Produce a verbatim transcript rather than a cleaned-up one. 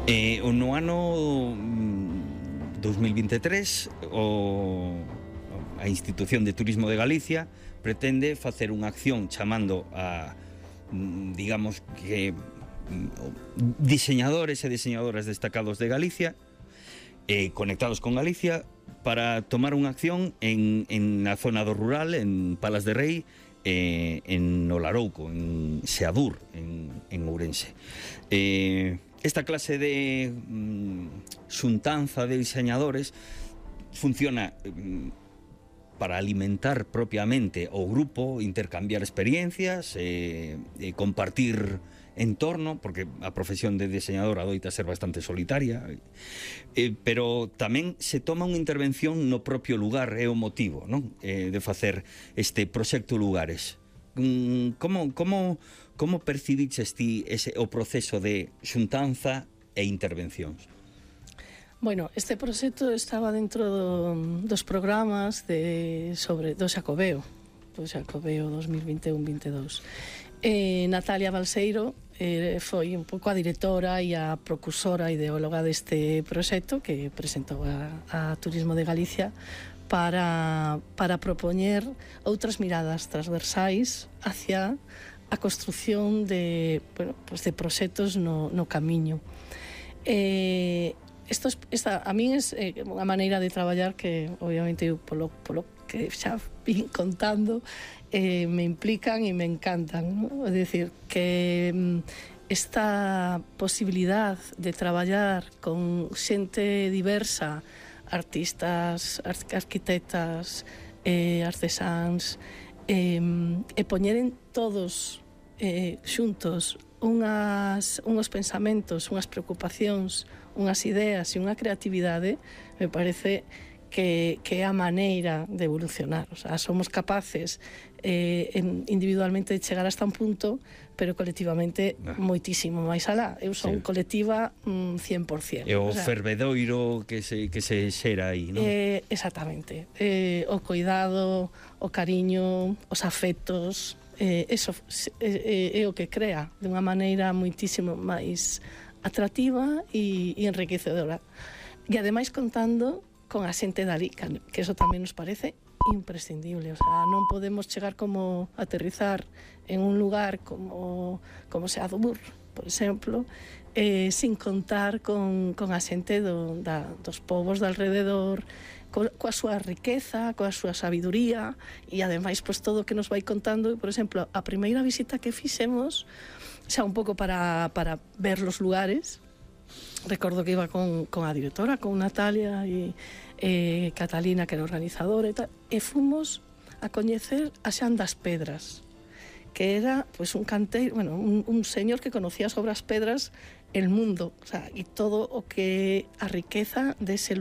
Eh, no ano dous mil vinte e tres o, a Institución de Turismo de Galicia pretende facer unha acción chamando a, digamos que, diseñadores e diseñadoras destacados de Galicia, eh, conectados con Galicia, para tomar unha acción en, en a zona do rural, en Palas de Rei, eh, en Olarouco, en Seadur, en, en Ourense. Eh, esta clase de mm, xuntanza de diseñadores funciona mm, para alimentar propiamente o grupo, intercambiar experiencias, eh, eh, compartir entorno, porque a profesión de diseñador adoita ser bastante solitaria, eh, pero tamén se toma unha intervención no propio lugar, é o motivo, non? Eh, de facer este proxecto Lugares. Mm, como, como, como percibiches ti ese, o proceso de xuntanza e intervencións? Bueno, este proxecto estaba dentro do, dos programas de, sobre, do Xacobeo, do Xacobeo dos mil vinte e un vinte e dous. Eh, Natalia Balseiro eh, foi un pouco a directora e a precursora ideóloga deste proxecto que presentou a, a Turismo de Galicia para, para propoñer outras miradas transversais hacia a construción de, bueno, pues de proxectos no, no camiño. Eh, Esto es, esta, a min é eh, unha maneira de traballar que, obviamente, polo, polo que xa vin contando, eh, me implican e me encantan, ¿no? É dicir, que esta posibilidad de traballar con xente diversa, artistas, arquitectas, eh, artesáns, eh, e poñeren todos eh, xuntos unhas, unhos pensamentos, unhas preocupacións, unhas ideas e unha creatividade, me parece que, que é a maneira de evolucionar. O sea, somos capaces eh, en, individualmente de chegar hasta un punto, pero colectivamente nah. moitísimo máis alá. Eu son sí. colectiva mm, cien por cien. E o, o sea, fervedoiro que se, que se xera aí, non? Eh, exactamente. Eh, o cuidado, o cariño, os afectos, eh, eso é, é o que crea de unha maneira moitísimo máis atractiva e, e enriquecedora. E ademais contando con a xente dali, que eso tamén nos parece imprescindible. O sea, non podemos chegar como aterrizar en un lugar como, como Seadur, por exemplo, eh, sin contar con, con a xente do, da, dos povos de alrededor, co, coa súa riqueza, coa súa sabiduría, e ademais pues, todo o que nos vai contando. Por exemplo, a primeira visita que fixemos, xa un pouco para, para ver los lugares, recordo que iba con, con a directora, con Natalia e eh, Catalina, que era organizadora e tal, e fomos a coñecer a Xan das Pedras, que era pues, un canteiro, bueno, un, un señor que conocía sobre as pedras el mundo, o sea, e todo o que a riqueza dese lugar.